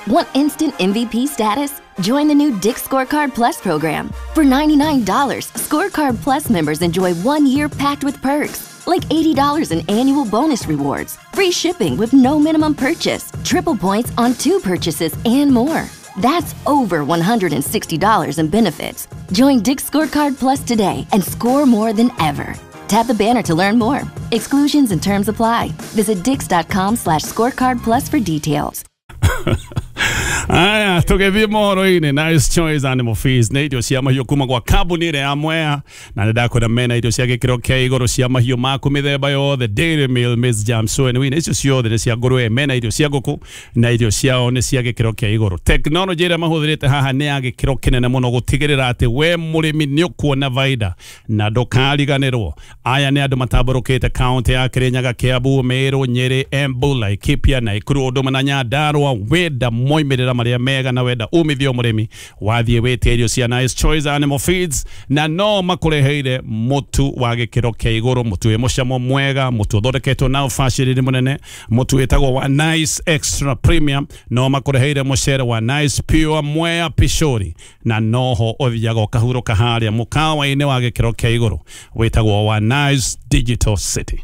Want instant MVP status? Join the new Dick's Scorecard Plus program. For $99, Scorecard Plus members enjoy 1 year packed with perks, like $80 in annual bonus rewards, free shipping with no minimum purchase, triple points on two purchases, and more. That's over $160 in benefits. Join Dick's Scorecard Plus today and score more than ever. Tap the banner to learn more. Exclusions and terms apply. Visit dicks.com/scorecard plus for details. Aya, tũgĩthiĩ mohoro-inĩ. Nice Choice Animal Feeds nĩ irio cia mahiũ kuma gwa kambuni ĩrĩa ya Mwea, na nĩ ndakwĩra mena irio cia gĩkĩro kĩa igũrũ cia mahiũ maku mĩthemba yothe: dairy meal, maize germ, soy and wheat. Icio ciothe nĩ cia ngũrwe. Mena irio cia ngũkũ na irio ciao nĩ cia gĩkĩro kĩa igũrũ. Tekinoronjĩ ĩrĩa mahũthĩrĩte haha nĩ ya gĩkĩro kĩnene mũno gũtigĩrĩra atĩ we mũrĩmi nĩ ũkuona baida na ndũkariganĩrwo. Aya nĩ andũ matambũrũkĩte kaunti ya Kirinyaga, Kiambu, Meru, Nyeri, Embu, Laikipia, Nakuru, ũndũ ũmwe na Nyandarua. Wenda moimĩrĩra marĩa mega na wenda umithio mũrĩmi, wathiĩ wĩtie irio cia Nice Choice Animal Feeds, na no makũreheire mũtu wa gĩkĩro kĩa igũrũ, mũtu wĩ mũcamo mwega, mũtu ũthondeketwo na ũbacĩrĩri mũnene, mũtu wĩtagwo wa Nice Extra Premium. No makũreheire mũcere wa Nice Pure Mwea Pishori, na noho ũthiaga ũkahurũka harĩa mũkawa-inĩ wa gĩkĩro kĩa igũrũ wĩtagwo wa Nice Digital City.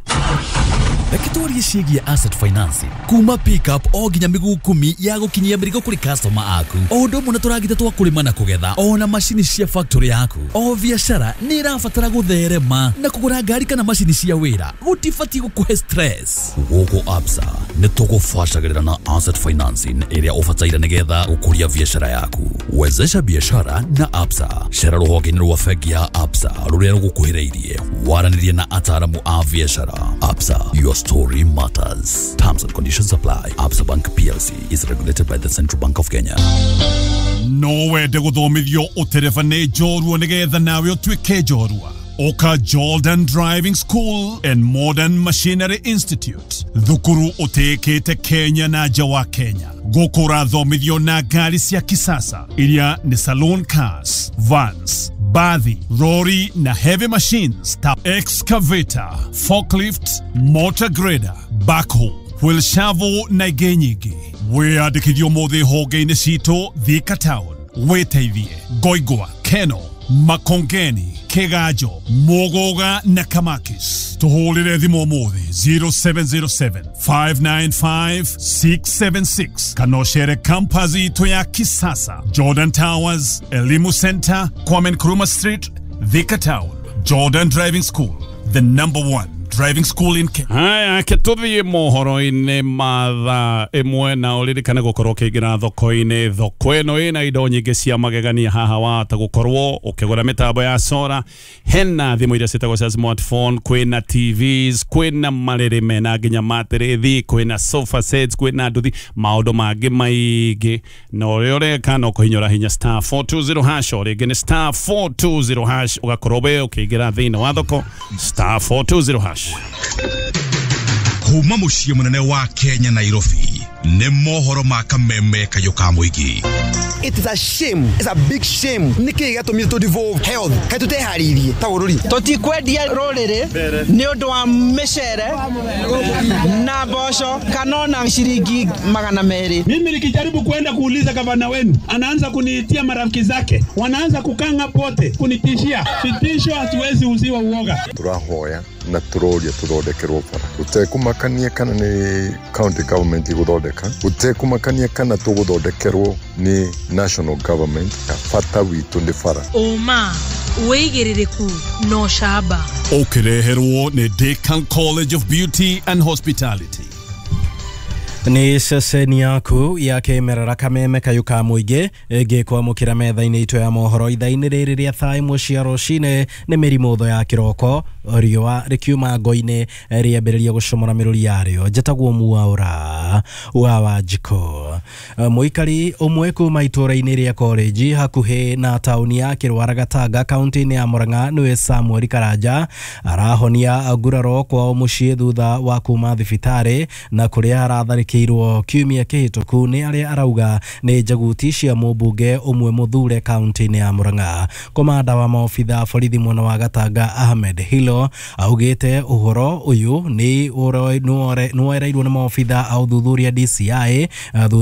Reke twarie ciĩgiĩ asset financing kuma pickup o nginya mĩguu 10 ya gũkinyia mĩrigo kũrĩ customer aku, o ũndũ ũmwe na tũragita twa kũrĩma na kũgetha, ona macini cia factory yaku. O biacara nĩ ĩrabatara gũtherema, na kũgũra ngari kana macini cia wĩra gũtibatiĩ gũkũhe stress. Gũkũ Absa nĩ tũgũbacagĩrĩra na asset financing ĩrĩa ũbataire nĩgetha gũkũria biacara yaku. Wezesha biashara na Absa. Cera rũhonge-inĩ rwa bengi ya Absa rũrĩa rũgũkuhĩrĩirie, waranĩrie na ataaramu a biacara. Absa, your story matters. Terms and conditions apply. Absa Bank PLC is regulated by the Central Bank of Kenya. No wende gũthomithio ũtereba nĩ njorua nĩgetha nawe ũtuĩke njorua? Oka Jordan Driving School and Modern Machinery Institute, thukuru ũtĩĩkĩte Kenya na nja wa Kenya. Gũkũ ũrathomithio na ngari cia kisasa iria nĩ saloon cars, vans, bathi, rori na heavy machines ta excavator, forklift, motor grader, backhoe, wheel shovel na ingĩ nyingĩ. Wĩyandĩkithio ũmũthĩ honge-inĩ citũ Thika Town, wĩteithie Ngoingwa, Keno, Makongeni, Kiganjo, Muguga na Kamakis. Tũhũrĩre thimũ ũmũthĩ 0707 595 676 kana ũcere campus itũ ya kisasa, Jordan Towers, Elimu Center, Kwame Nkrumah Street, Thika Town. Jordan Driving School, the number one driving school in Kenya. Haya, ke tuthiĩ mohoro-inĩ ma thaa 1, na ũririkane gũkorwo ũkĩingĩra thoko-inĩ. Thoko ĩno ĩna indo nyingĩ cia magegania. Haha wahota gũkorwo ũkĩgũra mĩtambo ya solar, hena thimũ iria ciĩtagwo cia smartphone, kwĩna TVs, kwĩna marĩrĩ mena nginya matĩrĩthi, kwĩna sofa sets, kwĩna nduthi, maũndũ mangĩ maingĩ. Na ũrĩa ũreka no kũhinyũra hinya *420#, o rĩngĩ nĩ *420#, ũgakorwo we ũkĩingĩra thĩinĩ wa thoko, *420#. Kuma muciĩ mũnene wa Kenya, Nairobi, nĩ mohoro ma kameme kayũ ka mũingĩ. It is a shame. It's a big shame. Nĩkĩ gĩatũmire tũ devolve health? Kaĩ tũteharĩirie ta bũrũri? Tũtikwendia rũrĩrĩ nĩ ũndũ wa mĩcere na mboco kana ona ciringi 200. Mimi nikijaribu kwenda kuuliza gavana wenu, anaanza kuniitia marafiki zake, wanaanza kukanga pote kunitishia vitisho. Hatuwezi uziwa uoga. Tũrahoya na tũroria tũthondekerwo bara gũtekũmakania kana nĩ county government igũthondeka, gũtekũmakania kana tũgũthondekerwo nĩ national government. Bata witũ nĩ bara. Ũma, wĩigĩrĩrĩku na ũcamba. Ũkĩreherwo nĩ Decan College of Beauty and Hospitality. Nĩ ceceni yaku ya kĩmerera, Kameme kayũ ka mũingĩ, ngĩkwamũkĩra metha-inĩ itũ ya mohoro ithaa-inĩ rĩrĩ rĩa thaa 1 cia rũcinĩ. Nĩ mĩrimũ ya kĩroko, riũa rĩkiuma ngo-inĩ rĩambĩrĩria gũcomora mĩrũri yarĩo. Njĩtagwo Mwaũra wa Wanjikũ. Mũikari ũmwe kuma itũũra-inĩ rĩa College hakuhĩ na taũni ya Kĩrwara Gatanga, kaunti-inĩ ya Murang'a, nĩwe Samuel Karanja, arahonia nguraro kwao mũciĩ thutha wa kuma thibitarĩ na kũrĩa aratharĩkĩirwo kiumia kĩhĩtũku nĩ arĩa arauga nĩ njaguti cia mũmbunge ũmwe mũthure kaunti-inĩ ya Murang'a. Komanda wa maobitha borithi mwena wa Gatanga, Ahmed Hilo, augĩte ũhoro ũyũ nĩ woereirwo nĩ maobitha a ũthuthuria DCI thutha